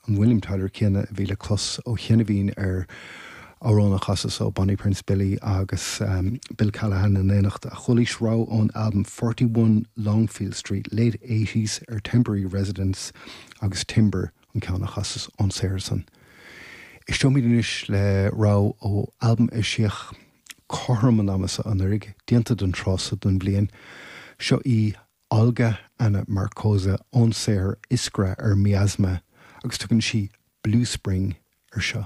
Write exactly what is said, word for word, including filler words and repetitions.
An William Tyler céanna a bhí le clos ó chianaibh ar amhrán a chasas ó Bonnie Prince Billy agus um, Bill Callahan in éineacht a chualaís rogha ón album forty one Longfield Street Late Eighties ar Temporary Residence agus Timber an ceann a chasas ón saothar san. Éisteoimid anois le rogha ó album a eisíodh cothrom an ama seo anuraidh, déanta don tráth seo den bhliain. Seo í Olga Anna Markoza ón saothar Iskra ar Miasma agus tugann sí Blue Spring ar seo.